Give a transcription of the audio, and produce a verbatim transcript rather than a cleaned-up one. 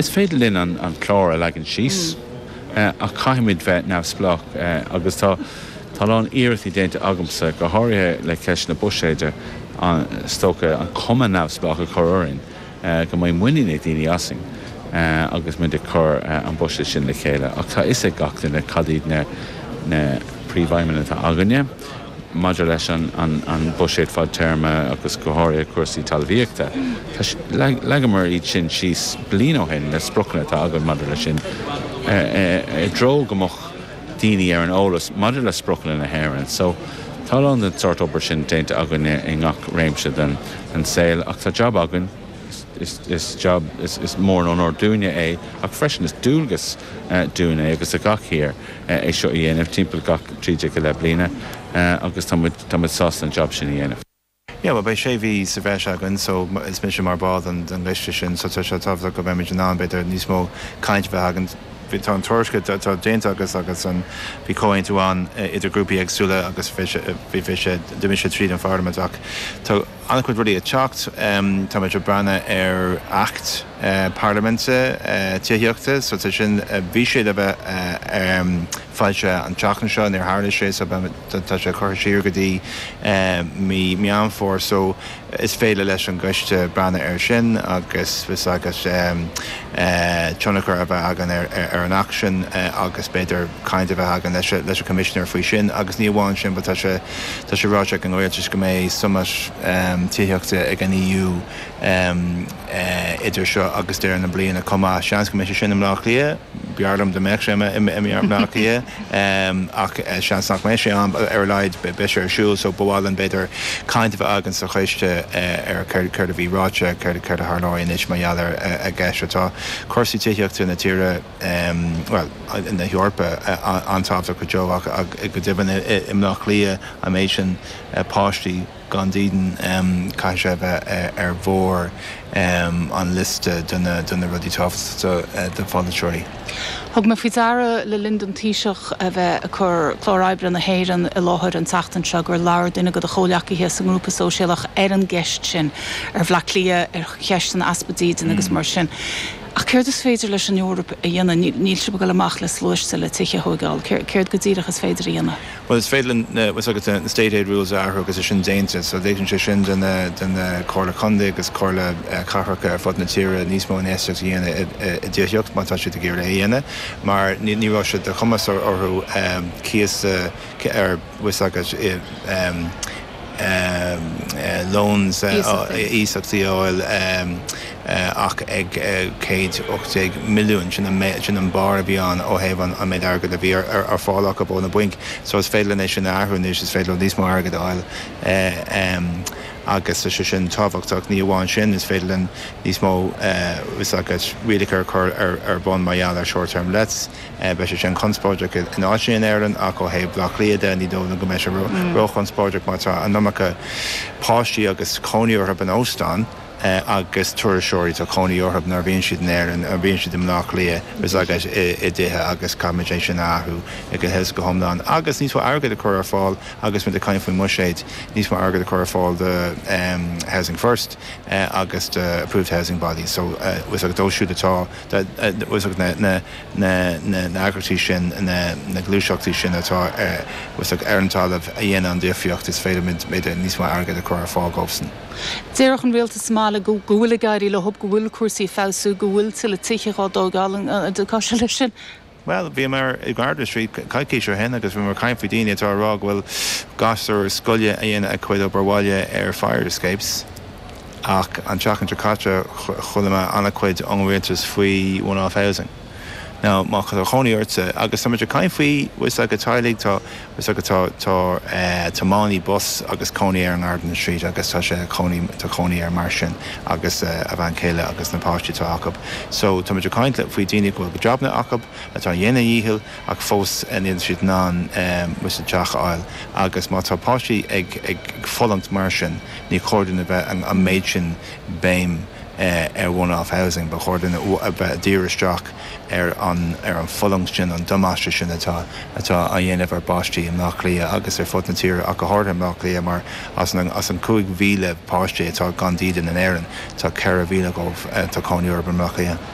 Is féidir linn an, an clár a leagan síos mm. ach caithfimid bheith neamhspleách agus tá Tá an-iarrachtaí déanta agamsa go háirithe le ceist na buiséide an stoca an cuma neamhspleách a chur orainn go mbeidh muinín ag daoine asainn agus muid ag cur an buiséad sin le chéile ach tá fhios ag gach duine cad iad na na príomhaidhmeanna atá againne maidir leis an, an, an buiséad fadtéarma agus go háirithe cúrsaí talmhaíochta. Leagamar iad sin síos bliain ó shin na spriocanna atá againn maidir leis sin i dtreo go mbeadh daoine ar an eolas maidir le spriocanna na hÉireann. So tá an den sort obair sin déanta againne i ngach réimse den an saol ach tá job againn is, is job is, is mór an onóir dúinne é ach freisin is dualgas uh, dúinn é agus a gach thír uh, é seo a dhéanamh timpeall gach trí go leith bliana uh, agus tá sásta an job sin a dhéanamh. Ja, beidh sé mhí sa bhreis againn so is mise mar ball den den liosta sin so tá sé tábhachtach go mbeimid in ann b'fhéidir níos mó caint bheith againn bhí tá an tuairisc tá déanta agus agus an bhí comhaontú ann idir grúpaí éagsúla agus bhí bhí sé d'imigh sé tríd an pharlaimint ach tá an-chuid rudaí ag teacht tá muid ag breathnú ar acht parlaiminte tithíochta so tá sin bhí sé le bheith foilsithe an tseachtain seo níor tharla sé so tá sé curtha siar go dtí mí Meán Fómhair so is féidir leis an gcoiste breathnú air sin agus vis agus tionchar a bheith againn ar ar an acht sin agus b'fhéidir caint a bheith againn leis leis an commissioner faoi sin agus ní amháin sin tá sé tá sé ráite ag an rialtas go mbeidh summit tithíochta ag an EU idir seo agus deireadh na bliana chomh maith seans go mbeidh sé sin i mBleá Cliath b'fhearr liom dá mbeadh sé i mBleá Cliath ach seans nach mbeidh sé ann ar a laghad beidh sé ar siúl so ba mhaith linn b'fhéidir caint a bheith againn sa choiste ar céard a bhí ráite céard céard a tharlóidh anois mar gheall ar a gceist atá cúrsaí tithíochta na tíre well na hEorpa an-tábhachtach go deo ach go deimhin i mBleá Cliath an méid sin páistí gan dídean caithfidh sé bheith ar bharr an liosta de na rudaí tábhachtacha do pholaiteoirí. Thug mé faoi deara le linn don Taoiseach a bheith ag cur clár oibre na hÉireann i láthair an tseachtain seo gur labhair duine de do chomhghleacaithe sa ngrúpa sóisialach ar an gceist sin ar Bhleá Cliath ar cheist an easpa dídine agus mar sin. Ach céard is féidir leis an Eoraip a dhéanamh níl sibh ag dul amach le sluaiste le tithe a thógáil, céard go díreach is féidir a dhéanamh. Well is féidir agus na state aid rules a athrú agus é sin déanta, so ligeann sé sin den den Comhairle Contae agus Comhairle cathracha ar fud na tíre níos mó infheistíocht a dhéanamh i dtithíocht má tá siad ag iarraidh a dhéanamh, mar ní ní raibh sé de chumas orthu cíos ar bhus agus loans iasachtaí a fháil ach ag céad ocht déag milliún sin sin an barr a bhí ann ó thaobh an méid airgead a bhí ar fáil acu ó na bainc. So is féidir linn é sin a athrú anois is féidir níos mó airgead a fháil agus sé sin tábhachtach ní amháin sin is féidir linn níos mó agus rialacha a chur ar ar bun mar gheall ar short-term lets. Beidh sé sin conspóideach in áit in Éirinn ach ó thaobh Bleá Cliath de ní dóigh go mbeidh sé róchonspóideach má tá an iomarca páistí agus cónaí orthu in óstán agus turasóirí tá cónaí orthu nuair a bhíonn siad in Éirinn a bhíonn siad i mBleá Cliath is agus i dtithe agus caithfimid é sin a athrú go huile go hiomlán. Agus níos mó airgead a chur ar fáil agus muid ag caint faoin mbuiséad níos mó airgead a chur ar fáil do um, Housing First uh, agus do Approved Housing Bodies. So uh, was agus dóibh siúd atá was na na na na na eagraíochtaí sin na na gluaiseachtaí sin atá uh, was ar an talamh a dhéanamh an difríocht is féidir b'fhéidir níos mó airgead a chur ar fáil dóibhsan. Déarfadh an rialtas maille go bhfuil ag éirí leo go bhfuil cúrsaí ag feabhsú go bhfuil tuilleadh tithe á dtógáil cá sé leis sin. Well, bhí mar i Gardiner Street coicís ó shin agus bhí mar caint faoi daoine atá rá go bhfuil gasúir scoile a dhéanamh a chuid obair bhaile ar fire escapes. ach an tseachtain seo caite chuala mé an-chuid ón rialtas faoi one-off housing. Now má tá cónaí ortsa agus tá ag caint faoi was go teaghlaigh tá was go tá tá tiománaí bus agus cónaí ar an Gardiner Street agus tá sé cónaí tá cónaí air mar sin agus a bhean chéile agus na páistí atá acu. So tá ag caint faoi daoine go bhfuil jobanna acu atá dhéanamh a ndícheall ach fós níl siad in ann was a teach a fháil agus má tá páistí ag ag fulaingt mar sin ní chóir dúinn a bheith an méid sin béim ar one-off housing ba chóir dúinn a bheith dírithe isteach ar an ar an fulaingt sin an damáiste sin atá atá á dhéanamh ar pháistí i mBleá Cliath agus ar fud na tíre ach go háirithe i mBleá Cliath mar as an as an cúig mhíle páistí atá gan dídean in Éirinn tá ceithre mhíle díobh tá cónaí orthu i mBleá Cliath.